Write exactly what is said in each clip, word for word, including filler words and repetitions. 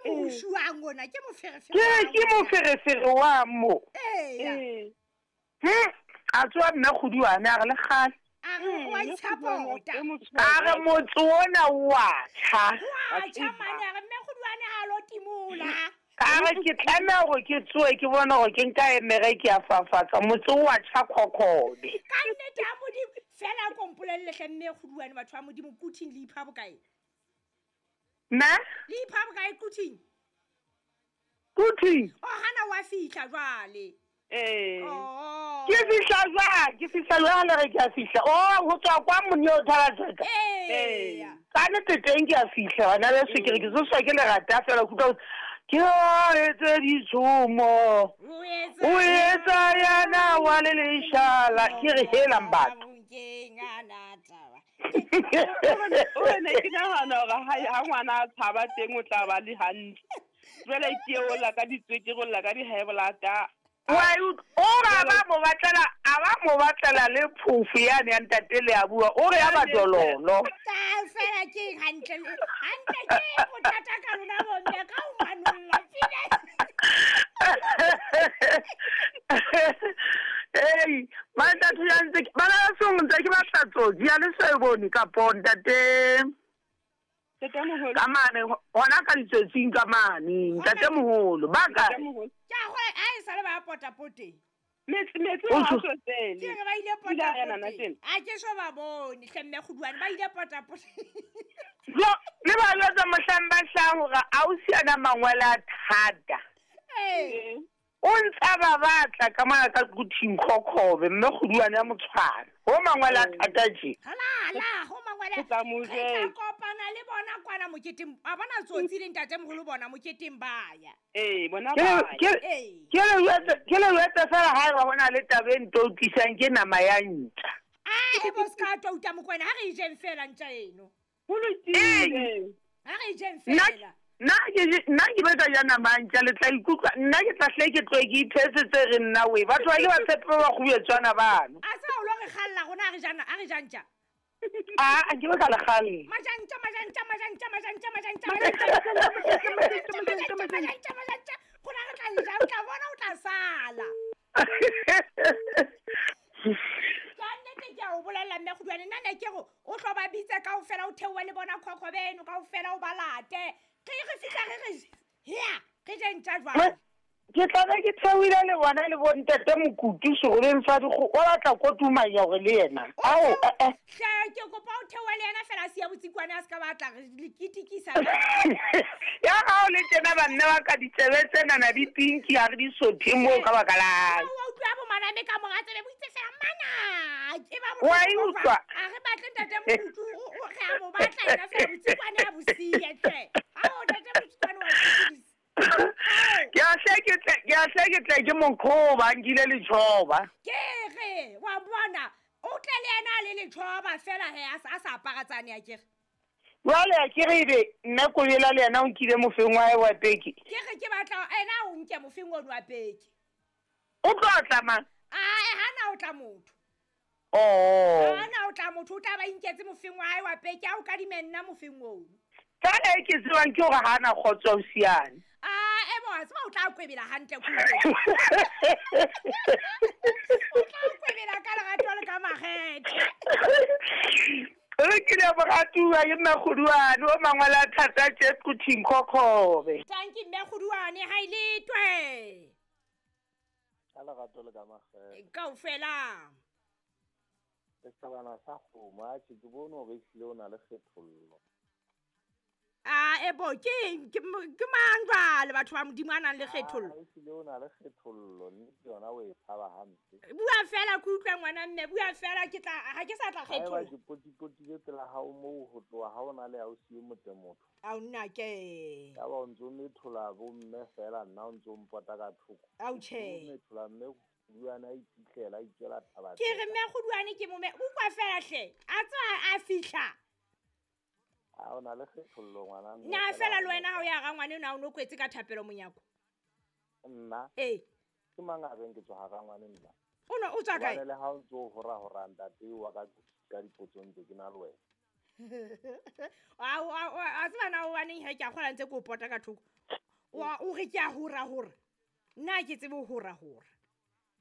Moushuang ona ke moferefere. Ke ke moferefere wa mo. Ee. Hm a tswa mme Kgoduane a re le kgale. A re wa itshapota. A re motse ona wa tjha. Wa tjha mane a re mme Kgoduane ha lo timola. A re ke tlameha hore ke tsoe ke bone hore ke nka emere ke a fafatsa motse wa tjha Khokhobe. Ka nnete ya Modimo fela ko mpolelle hle mme Kgoduane batho ba Modimo Quthing le ipha bokae? Na? Le ipha bokae Quthing? Quthing? O hana wa fihla jwale. Eh. Oh. Ke fihla jwang? Ke fihla jwang le re ke a fihla? Oh, ho tswa kwa mone o thala tsaka. Eh. Ka nnete teng ke a fihla bana beso ke re ke tsoswa ke lerata fela ke utlwa ke o etse ditshomo. O etsa yana wa le leshala ke re helang batho. Ke ngana taba. O ne ke nahana hore ha ha ngwana a tshaba teng o tla ba le hantle. Jwale ke o la ka ditswekere o la ka di-high blood. Wa o ra ba mo batlela a ba mo batlela le phofu yane ya ntate le a bua o re ya ba dololo. Ta fela ke hantle hantle ke bothata ka lona bo mme ka o manolla fela. Ei, mantate ya ntse bana ba song ntse ke batla tsotsi ya le so e bone ka ponta te. Ntate moholo. Ka mane hona ka ditsotsing ka mane ntate moholo ba ka. Ke a go a e sale ba pota pote. Metsi metsi ha so tsele. Ke re ba ile pota pote. A ke so ba bone hle mme Kgoduane ba ile pota pote. Jo, le ba lotsa mohlang ba hlang hore ausi ana mangwele a thata. Eh. O ntsa ba batla ka mona ka Quthing Khokhobe mme Kgoduane ya motshwana. Ho mangwele a thata tje. Hala la ho mangwele. Ke tla mo Re tla jwetsa. kopana le bona kwana moketeng. A bona tsotsi le ntate moholo bona moketeng ba ya. Eh, bona Ke ba. ke Ee. ke le jwetse ke le jwetse fela ha eba hona le taba e nto tlisang ke nama ya ntja. A e bo ska twa uta Mokwena ha re e jeng fela ntja eno. Ho lokile. Ha re e jeng Nna fela. nna ke nna ke batla ja nama ya ntja le tla ikutlwa nna ke tla hle ke tloe ke ithetse tse re nna we batho ba ke ba tshepe ba kgubetswana bano. A tseba o lo re kgalla rona ha re jana ha re ja ntja. A a ke ba ka le kgalle. Majantja majantja majantja majantja majantja majantja majantja majantja majantja rona re tla e ja o tla bona o tla sala. Ka nnete ke a o bolella mme Kgoduane nna ne ke re o tlo ba bitse kaofela o theohe le bona Khokhobe eno kaofela o ba late. Re re fihla re re hea re je ntja jwale. Ke tla be ke theohile le bona le bo ntate Mokutu seroleng sa dikgoho o batla kotumanya hore le yena. Ao eh eh. Hle ke kopa o theohe le yena fela a siya botsikwane a ska batla re le kitikisa. Ya ha o le tjena banna ba ka ditsebe tsena di pinki ha re di sothe moo ka baka la. O utlwa bo maname ka monga tsebe bo itse fela mana. Ke ba bo. Wa e utlwa. A re batle ntate Mokutu o re a mo batla yena fela botsikwane a bo siye tle. Ao ntate Motsikwane wa sokodisa. Ke a hle ke tle ke a hle ke tle ke monkhoba nkile letjhoba. Ke re wa bona o tle le yena a le letjhoba fela he a sa a sa apara tsane a kere. Jwale a ke re ebe nna Kobela le yena o nkile mofeng wa hae wa peke. Ke re ke batla ena o nke mofeng ono wa peke. O tlo tla mang? Ae hana o tla motho. Oh. Hana o tla motho o tla ba inketse mofeng wa hae wa peke a o kadime nna mofeng ono. Fela e ke tsebang ke hore ha ana kgotso o siane. Ah, e bo a tseba o tla kwebela hantle kudu. O tla kwebela ka lerato le ka makgethe. Re ke le moratuwa ke mme Kgoduane o mangwele a thata tje Quthing Khokhobe. Tanki mme Kgoduane ha ile twe. Ka lerato le ka makgethe. Kaofela. Setjhabana sa kgomo a tjhe ke bone hore ehlile o na le kgethollo. Ah, e bo ke ke ke mang jwale batho ba Modimo a nang le kgethollo. Ah, ehlile o na le kgethollo nnete yona o e tshaba hampe. Bua fela ke utlwe ngwana mme bua fela ke tla ha ke sa tla Haeba kgetholla. ke potipotile pela hao moo ho tloha ha o na le ausi e motle motho. Ao nna ke. Ya ba o ntso methola bo mme fela nna o ntso mpota ka thoko. Ao tjhe. O methola mme Kgoduane a iphitlhela a itswela thaba. Ke re mme Kgoduane ke mome utlwa fela hle. A tswa a fihla. A o na le kgethollo ngwana mme. Nna fela le wena ha o ya ga ngwane o no kwetse ka thapelo monyako. Nna. Eh. Ke mang a reng ke tswa ga ngwane nna? O no o tswa kae? Hobane le ha o ntso hora hora ntate wa ka ka dipotsong tse ke na le wena. A a a tseba na o baneng he ke a kgola ntse ke o pota ka thoko. Wa o re ke a hora hora. Nna ke tsebe ho hora hora.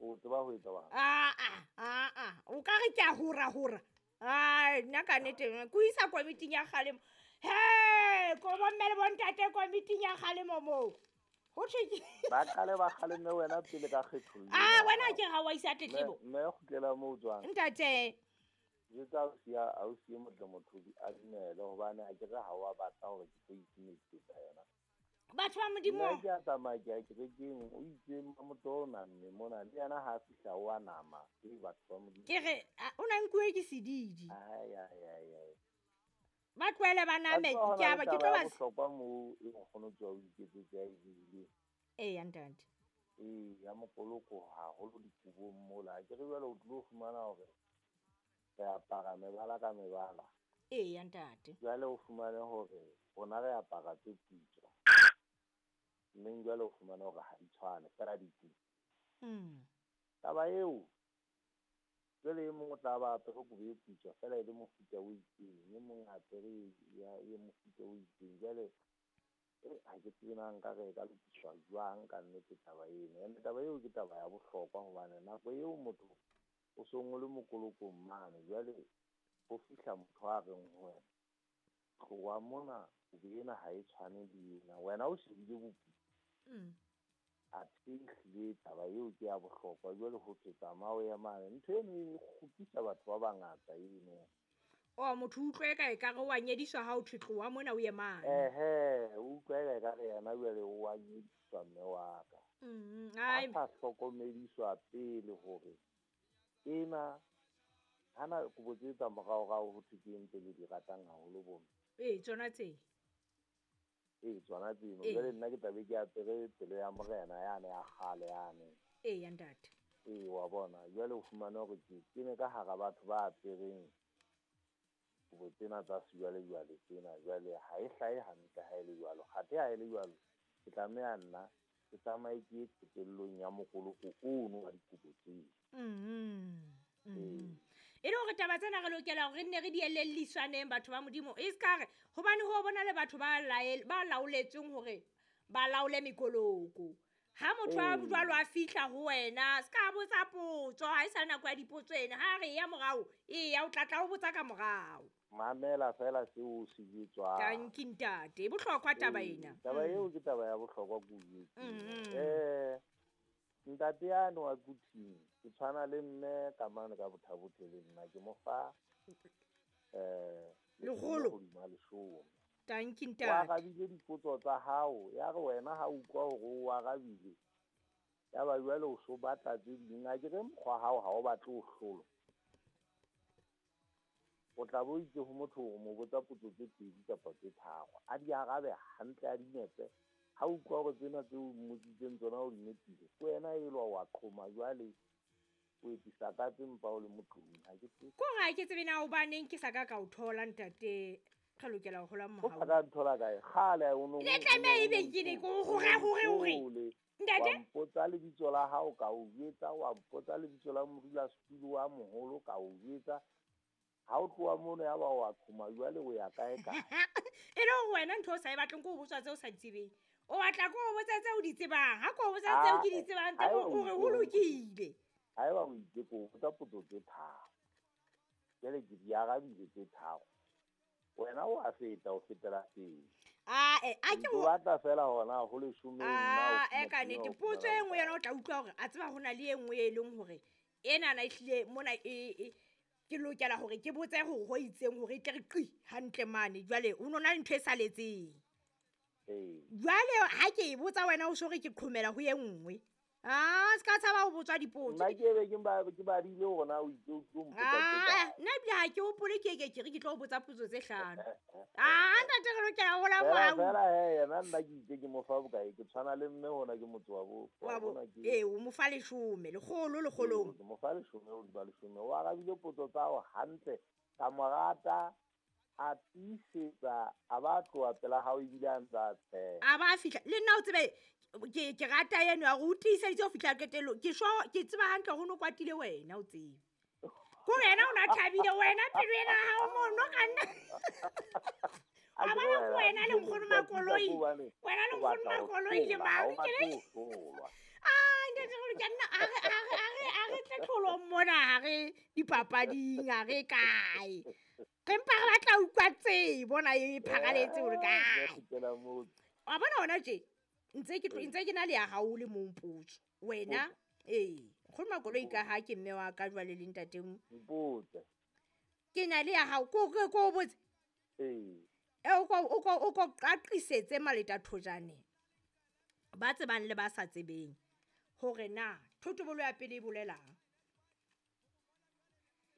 O tseba ho etsa bang? Ah ah ah ah. O ka re ke a hora hora. Ai, nna ka nnete ko isa komiting ya kgalemo. He, ko bomme le bontate komiting ya kgalemo moo. Ho thwe ke Ba qale ba kgaleme wena pele ka kgethollo. Ah, wena ke ga wa isa tletlebo. Mme kgutlela moo tswang. Ntate. Jwetsa ausi ya ausi e motle motho a dumele hobane a ke re ha wa batla hore ke tlo itimetsa yona. Batho ba Modimo. Nna ke a tsamaya ke ya kerekeng, o itse motho o namme mona le yena ha a fihla o a nama. Ke batho ba Modimo. Ke re o na nkuwe ke sedidi. Ai ai ai ai. Ba tlohele ba name ke a ba ke tlo ba bohlokwa moo e nkgono tswa o iketsetse a e buile. Ee, ntate. Ee, ya mokoloko haholo dikobong mola. Ke re jwale o tlo fumana hore re apara mebala ka mebala. Ee, ntate. Jwale o fumane hore rona re apara tse putswa. Mme jwale o fumane hore ha di tshwane fela di Mm. Taba eo jwale e mong o tla ba apere kobo e putswa fela e le mofuta o itseng, e mong a apere ya e mofuta o itseng. Jwale ha ke tsebe na nka re e ka lokiswa jwang ka nnete taba eno. Ene taba eo ke taba ya bohlokwa hobane nako eo motho o song o le mokolokong mane, jwale ho fihla motho a reng ho wena, tloha mona kobo ena ha e tshwane le ena, wena o shebile boputswa. Mm. Athe ehlile taba eo ke ya bohlokwa. Jwale ho thwe tsamaya o ye mane, ntho eno e kgopisa batho ba bangata eno. Oh, motho utlwe ka ekare wa nyediswa ha o thwe tloha mona o ye mane. Ehe, o utlwa eka ekare yena jwale o wa nyediswa mme wa ka. Mm, A ai. sa hlokomediswa pele hore ena hana kobo tse tsa moraorao ho thwe ke eng tse le di ratang haholo bo mme. Ee, tsona tse. Ee, tsona tseno. Ee. Jwale nna ke tlabe ke apere pelo ya morena yane ya kgale yane. Ee, ntate. Ee, wa bona. Jwale o fumane hore ke kene ka hara batho ba apereng kobo tsena tsa sejwalejwale tsena. Jwale ha e hlahe hantle ha e le jwalo. Kgathe ha e le jwalo, ke tlameha nna ke tsamaye ke ye qetellong ya mokoloko ono wa dikobo tseo. Mm. Ee. E le hore taba tsena re lokela hore re nne re di elelliswaneng batho ba Modimo. E ska re hobane ho bona le batho ba lael ba laoletsweng hore ba laole mekoloko. Ha motho a Ee. jwalo a fihla ho wena, ska botsa potso, ha e sa nako ya dipotso ena. Ha re ya morao, e ya o tla tla o botsa ka morao. Mamela fela seo o se jwetswang. Tanki ntate, e bohlokwa taba Ee, ena. taba eo ke taba ya bohlokwa ke o jwetseng. Mm. Eh, ntate yane wa Kuthing, ke tshwana le mme ka mane ka Bothabothe le nna ke mo fa eh Lekgolo. hodima leshome. Tanki O ntate. arabile dipotso tsa hao, ya re wena ha utlwa hore o arabile, ya ba jwale o so batla tse ding. A ke re mokgwa hao ha o batle ho hlolwa. O tla bo itse ho motho hore mo botsa potso tse pedi kapa tse tharo, a di arabe hantle a di nepe. Ha utlwa hore tsena tseo o mmotsitseng tsona o di nepile, ke wena elwa wa qhoma jwale o etsisa ka tse mpa o le motlong. Ha ke tsebe. Ko re ha ke tsebe na hobaneng ke sa ka ka o thola ntate. Re lokela ho hola O mohau. sa ka nthola kae? Kgale o no Le tlameha ebe ke ne ke o hore hore hore. Ntate? Wa mpotsa lebitso la hao ka o jwetsa, wa mpotsa lebitso la modulasetulo wa moholo ka o jwetsa. Ha o tloha mono ya ba wa qhoma jwale o ya kae kae? E le hore wena ntho o sa e batleng ke ho botswa tseo o sa di tsebeng. O batla ke ho botsa tseo o di tsebang. Ha ke o botsa tseo ke di tsebang tse Haeba o o re ho itse- lokile. Haeba o itse ke o botsa potso tse tharo. Jwale ke di arabile tse tharo. Wena o a feta, o fetela pele. Ah, eh, a ke O o batla fela hona ho leshome nna o Ah, eh, ka fumana nnete. o Potso fumana e nngwe yona o tla utlwa hore a tseba ho na le e nngwe e leng hore enana ehlile mona e, e ke lokela hore ke botse hore ho itseng hore e tle re qi hantle mane. Jwale ho no na le ntho e saletseng. Ee. Jwale ha ke e botsa wena o so re ke qhomela ho e nngwe. Ah, se ka tshaba ho botswa dipotso. Nna ke be ke ba ke badile hore na o itse o tlo mpotsa tse Ah, kae. nna ebile ha ke hopole ke ke ke re ke tlo o botsa potso tse hlano. Ah, ntate re lokela ho hola Fela mohau. fela he yena nna ke itse ke mo fa bokae, ke tshwana le mme hona ke motse wa bo Wa wa bo, bona ke ee, o mo fa leshome, lekgolo lekgolong. Ke mo fa leshome hodima leshome. O arabile potso tsa hao hantle, ka mo rata, a tiisetsa, a ba tloha pela hao ebile a ntse a tsheha. A ba fihla le nna o tsebe ke ke rata eno ya hore o tiiseditse ho fihla qetellong. Ke sure ke tseba hantle hore o no kwatile wena o tsebe. Ko yena o na thabile wena pelo ena ha o mono ka nna. A bona ko wena le nkgono Makoloi. Wena le nkgono Makoloi le mang ke le. Ah, ntate re ke nna a re a re a re a re tle tlholong mona ha re dipapading ha re kae. Re mpa re batla utlwa tsebo bona e phakaletse hore kae. Wa bona hona tje ntse ke ntse ke na le ya hao le mong potso. Wena eh nkgono Makoloi ka ha ke mme wa ka jwale le ntate mpotse. Ke na le ya hao ko ko ko botse. Eh. E o ko o ko o ko qaqisetse maleta thojane. Ba tsebang le ba sa tsebeng hore na thotobolo ya pele e bolelang.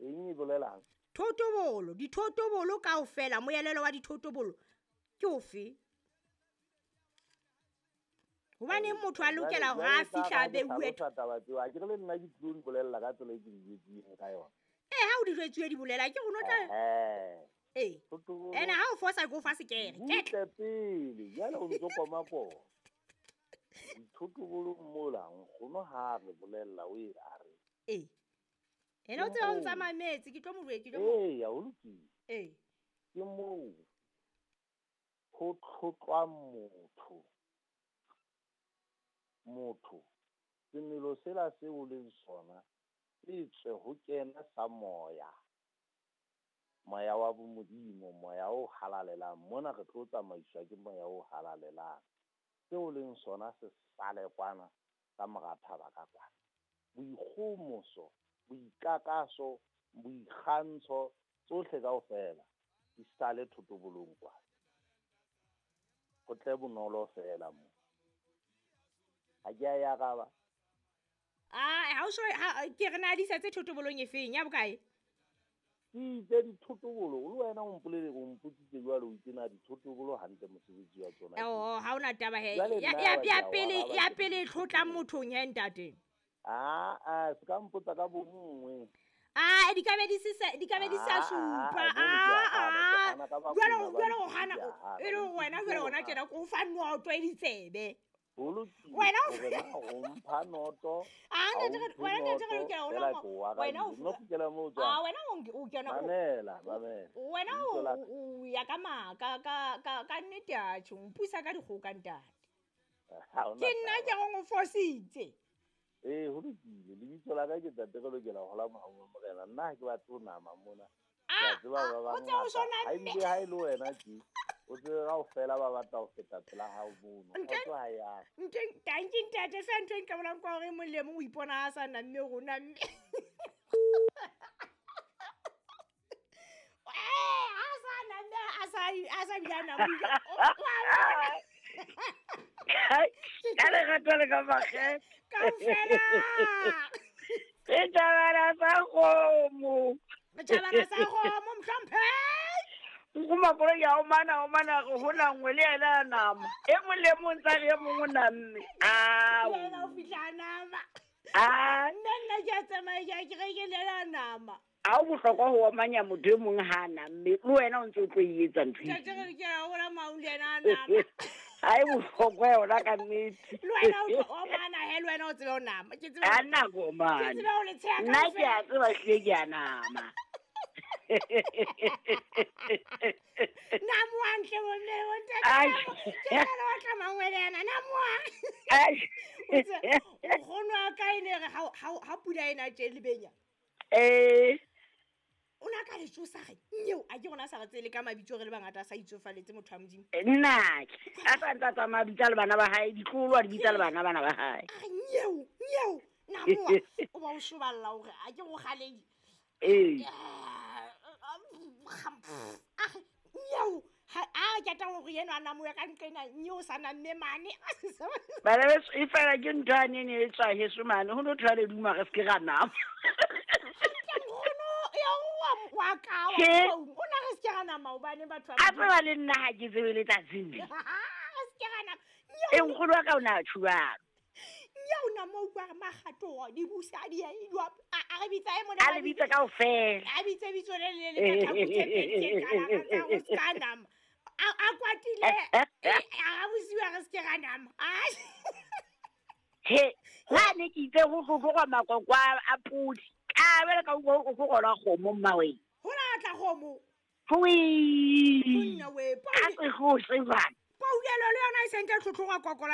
Eng e bolelang? Thotobolo, dithotobolo kaofela, moelelo wa dithotobolo ke ofe? Hobane motho a lokela hore a fihla a beuwe taba tseo. A ke re le nna ke tlo di bolella ka tsela e ke di jwetseng ka yona. Eh, ha o di jwetsuwe di bolela ke rona tla. Eh. Eh. Ena ha o fosa ke o fa sekere. Ke tle pele, jwale o ntso koma koma. Dithotobolo mola nkgono ha re bolella o e a re. Eh. Ena o tseba o ntsa mametse ke tlo mo ke tlo mo. Eh, ya o lokile. Eh. Ke moo ho tlhotlwang motho. Motho semelo sela se o leng sona se tswe ho kena sa moya. Moya wa bomodimo, moya o halalelang. Mona re tlo tsamaiswa ke moya o halalelang. Seo leng sona se sale kwana ka mora thaba ka kwana. Boikgomoso, boikakaso, boikgantsho tsohle kaofela di sale thotobolong kwana. Ho tle bonolo fela mo. Ha ke a ya araba. Ah, ha o so ke re na di setse thotobolong e feng ya bokae? Ke itse dithotobolo le wena o mpolele o mpotsitse jwalo o itse na dithotobolo hantle mosebetsi wa tsona. Oh, ha ona taba he. Ya ya pele ya pele tlotla mothong he ntate. Ah ah, se ka mpotsa ka bonngwe. Ah, di ka be di se di ka be di sa supa. Ah ah. Jwale jwale o hana e le wena jwale ona tjena ko fa noto e ditsebe. Wena o mpha noto. Ah, ntate wena ntate re lokela ona wena o no kgutlela moo tswa. Ah, wena o kena o mamela, mamela. Wena o ya ka ma ka ka ka ka nnete a tjho mpusa ka dikgoka ntate. Ke nna ke go fositse. Eh, ho lokile. Lebitso la ka ke ntate re lokela ho hola mohau wa Morena. Nna ha ke batle ho nama mona. Ah, Ke a tseba ba o tse o bangata. Ha ebile ha e le wena tje. O tsebe kaofela ba batla ho feta pela hao mono. Kgotso ha ya. Nteng tanki ntate fe ntho e nka bolang kwa hore mong le mong o ipona a sa namme rona mme. Eh, a sa namme a sa a sa bile a namile. Ka lerato le ka makgethe. Kaofela. Setjhabana sa kgomo. Setjhabana sa kgomo mohlomphehi. Nkgono Makoloi ya o mana o mana re hola nngwe le yena a nama. E mong le mong tsa re e mong o namme. Ao. Yena o fihla a nama. Ah. Nna nna ke a tsamaya ke a ke re ke le yena a nama. Ha o bohlokwa ho omanya motho e mong ha a namme. Le wena o ntse o tlo e etsa ntho e. Ntate re ke a hola maung le yena a nama. Ha e bohlokwa yona ka nnete. Le wena o tlo omana he le wena o tsebe ho nama. Ke tsebe. Ha nna ke omana. Ke tsebe ho le tsheha Nna ke a tseba hlile ke a nama. Namoang hle bomme le bontate. Ke jwale wa tla mangwele ana namoang. Nkgono wa ka e ne re ha ha pula ena tje lebenya. Eh. O na ka le tsosa re nyeo a ke rona sa re tsele ka mabitso re le bangata a sa itsofaletse motho wa Modimo. Nna a sa ntsa tsamaya bitsa le bana ba hae ditloholo a di bitsa le bana bana ba hae. A re nyeo nyeo namoa o ba o shoballa hore a ke go kgaledi. Eh. A nyeo ha a ke tla hore yena a namoya ka nqena nyeo sa namme mane. Bana beso e fela ke ntho a nene e tswa heso mane ho no thwa le duma re se ke ra nama. Nkgono ya wa wa ka wa o na re se ke ra nama hobane batho ba. A tseba le nna ha ke tsebe letsatsing le. Re se ke ra nama. E nkgono wa ka o na tjhuwalo. Nyeo na mo utlwa re makgato di busa di a a re bitsa e mona A le bitsa kaofela. A bitse bitso le le le ka tlhaku tse pedi tse qalang tsa ho se ka nama. A a kwatile a bosiwa re se ke ra nama. He, ha ne ke itse ho tlogwa makoko a podi. Ka bele ka utlwa o go gola kgomo mmaweng. Ho la tla kgomo. Hui. Monna we A se go se bana. Poulelo le yona e sentse tlhotlhoga kokola.